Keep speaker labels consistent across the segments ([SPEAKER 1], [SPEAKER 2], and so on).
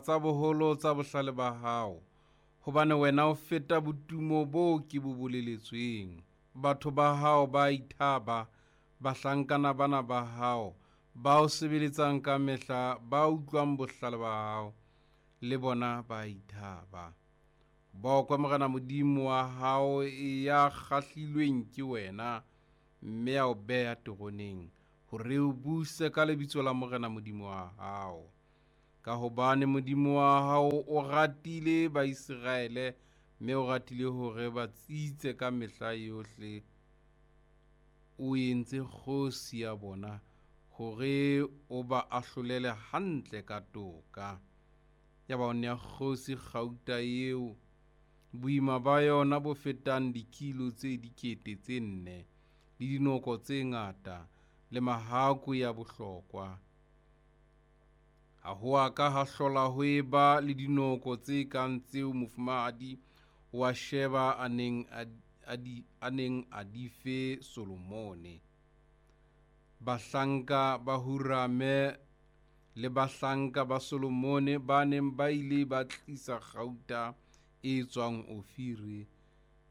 [SPEAKER 1] Tsa boholo tsa bohlale ba hao, hobane wena o feta botumo boo ke bo boleletsweng. Batho ba hao ba ithaba, bahlankana bana ba hao, ba o sebeletsang ka mehla, ba utlwang bohlale ba hao, le bona ba ithaba. Bokwe Morena Modimo wa hao ya kgahlilweng ke wena, mme a o beha teroneng, hore o buse ka lebitso la Morena Modimo wa hao. Ka hobane Modimo wa hao o ratile Baiseraele, mme o ratile hore ba tsitse ka mehla yohle, o entse kgosi ya bona hore o ba ahlolele hantle ka toka. Yaba o nea kgosi kgauta eo boima ba yona bo fetang dikilo tse 4,000, le dinoko tse ngata, le mahakwe ya bohlokwa. Ha ho a ka ha hlola ho eba le dinoko tse kang tseo mofumahadi wa Sheba a neng a di fe Solomone. Bahlanka ba Hurame le bahlanka ba Solomone ba neng ba ile ba tlisa kgauta e tswang Ofire,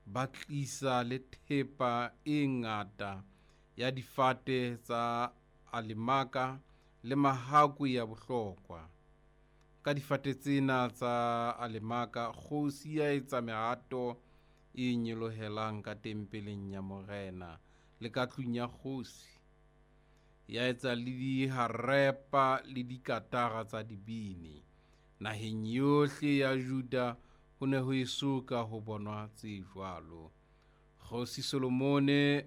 [SPEAKER 1] ba tlisa le thepa e ngata ya difate tsa alemaka le mahakwe ya bohlokwa. Ka difate tsena tsa alemaka kgosi ya etsa mehato e nyolohelang ka tempeleng ya Morena le ka tlung ya kgosi. Ya etsa le diharepa le dikatara tsa dibini. Naheng yohle ya Juda ho ne ho eso ka ho bonwa tse jwalo. Kgosi Solomone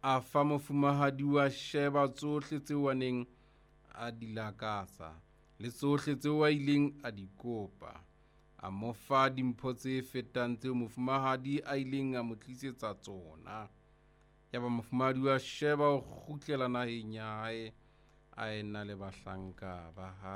[SPEAKER 1] a fa mofumahadi wa Sheba tsohle tseo a neng a di lakatsa, le tsohle tseo a ileng a di kopa. A mo fa dimpho tse fetang tseo mofumahadi a ileng a mo tlisetsa tsona. Yaba mofumahadi wa Sheba o kgutlela naheng ya hae a ena le bahlanka ba hae.